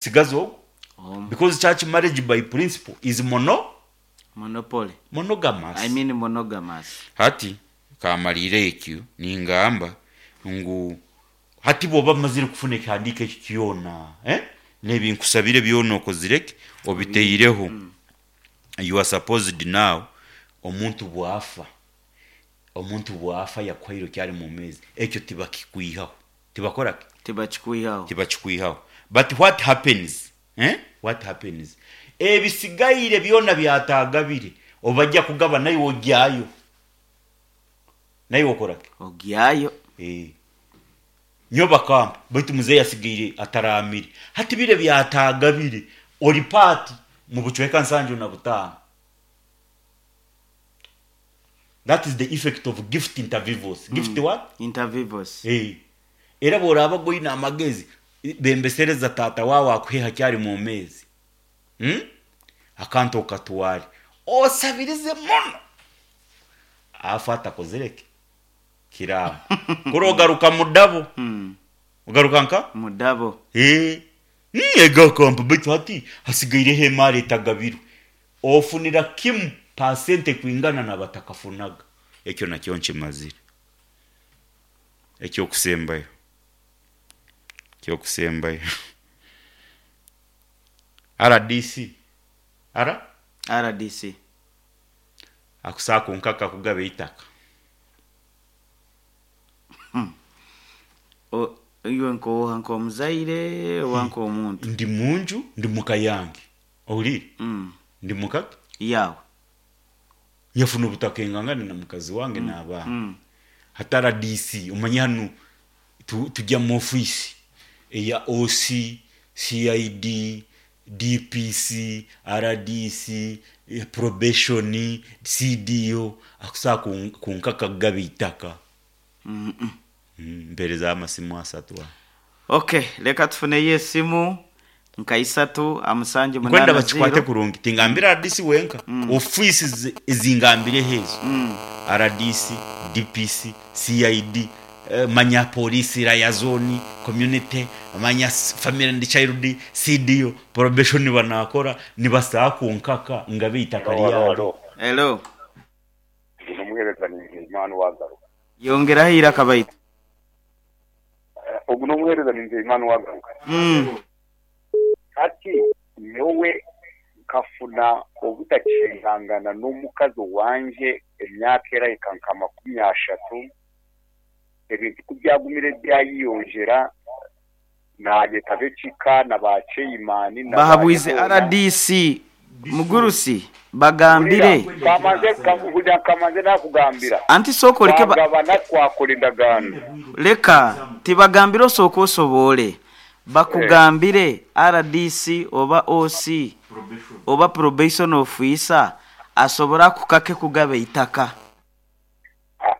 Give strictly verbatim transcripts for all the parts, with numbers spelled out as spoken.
Sigaza ogwo. Omu. Because church marriage by principle is mono Monopoly. Monogamous. I mean monogamous. Hati kamariire ekyo ningamba ngu hati bwoba mazire kufuna ekihandiiko ekyo kyona, eh? N'ebinkusabire byona okozire ki, obiteireho, you are supposed now, omuntu bwafa omuntu bwafa yakuhaire okyari mwomeezi, ekyo tibakikwihaho, tibakora ki? Tibakikwihaho. Tibakikwihaho. But what happens, eh? What happens, ebisigaire byona byatagabire obajja kugaba, naiwe ogyayo, naiwe okora ki? Ogyayo. Eh. Nyo bakampa, baitu muzeeyi asigaire ataramire, hati bire byatagabire ori paati mu bucweka nsanju na butaano. That is the effect of gift inter vivos. Gift what? Inter vivos. Eh. Era bworaba goine amagezi, bembesereza tata wawe akuhe hakyari mwomeezi, hmm? Akantu okatware osabirize muno, afa atakozire ki kiraamo, kuri ogaruka mudabo. Mm. Ogaruka nka Mudabo. Eh, ega kampa, baitu hati hasigaireho emaari etagabirwe, ofunira kimu pasente kwingana nabatakafunaga. Ekyo nakyo nkimazire. Ekyokusembayo, ekyokusembayo, R D C ara R D C. Akusaaka nkaka kugaba eitaka. O- iwe nk'oha, nk'omuzaire oba nk'omuntu? Ndi munju, ndi muka yange, ohuriire? Mm. Ndi mukaki? Yawe. Nyafuna obutaka engangane na mukazi wange n'abaana. Mm. Hati R D C, omanye hanu tu- tujya mu ofiisi eya O C, C I D, D P C, R D C, eh, probation, C D O, akusaa kunkaka kugaba itaka. Mm -mm. Mm, mpereza amasimu asatu aho. Okay, reka tufuneyo esimu nka isatu amusanju Nkwenda munana bakikwate zero. kurungi, tingambira R D C wenka, ofiisi zi- ezingambireho ezo: R D C, D P C, C I D, eh, manya polisi liaison community, manya s- family and child, C D O, probation, banakora nibasaa kunkaka ngabe itaka Alo, alo, ryange. alo. Hello. Ndi n'omuheereza, Nzeyimana wagaruka. Yongeraho iraka baitu. Ogu n'omuheereza, Nzeyimana wagaruka. Mm. Hati nyowe nkafuna obutakihangana n'omukazi wanje emyaka erahika nka makumi ashatu. Ebintu kubyagumire byayiyonjera, nayetaba ekika na ba chairman na ba Bahabwize boona. R D C mugurusi bagambire. Kamaze kugira kamaze nakugambira. Anti sooka oleke ba- Twagabana, twakora endagaano. Leka tibagambire, osooka osobole bakugambire R D C oba O C oba probation officer asobora kukake kugaba itaka. Ah,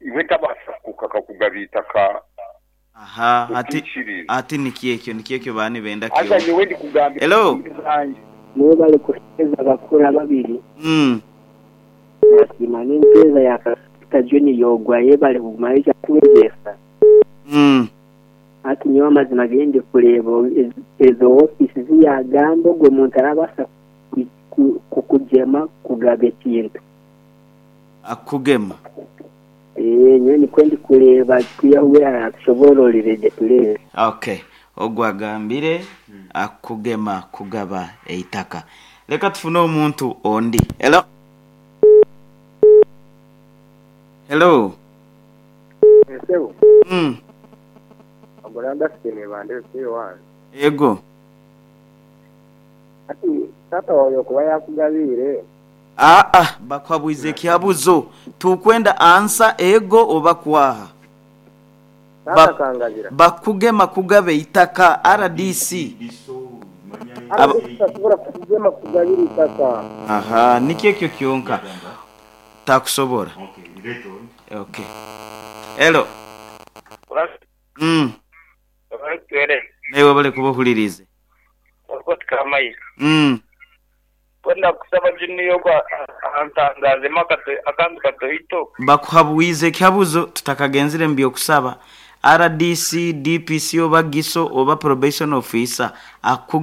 iwe tabasa kukaka kugaba itaka. Aha, ati Okiikiriza. Ati nikyekyo nikyekyo bani benda Aza kyo. nyowe ndikugambira Hello. zanje. Nibo bari kuheereza bakura babiri. mm. Nasiima n'empeereza ya Kasita John yogwa, yebare kuguma ija kwegyesa. Mm. Hati nyowe amazima gendi kureeba ez- ezo ofiisi ziyagamba, ogwo muntu arabaasa ku- ku- kukugyema kugaba ekintu. Akugema. Ee, nyowe nikwo ndikureeba, kwihaho aratushobororere gye tureebe. Okay, ogwo agambire akugema kugaba eitaka. Leka tufune omuntu ondi. Hello, hello. Esebo. mm. Agoranda sine bande wange. Ego. Ati tata wawe okuba yakugabiire. Aa, bakwabwize ekyabuzo, tukwenda ansa ego oba kwaha. Tata Ba- kangabira. Bakugema kugaba eitaka R D C. Aba- Tasobola kugema kugabira itaka. Aha, nikyekyo kyonka takusobora. Okay, hello. mm. Newe bale kuba ohulirize. mm. Kwenda kusaba juniyo kwa antangazemu akantu katoito. Bakuhabwize ekyabuzo tutakagenzire mu byokusaba. R D C, D P C oba Giso oba probation officer akuge.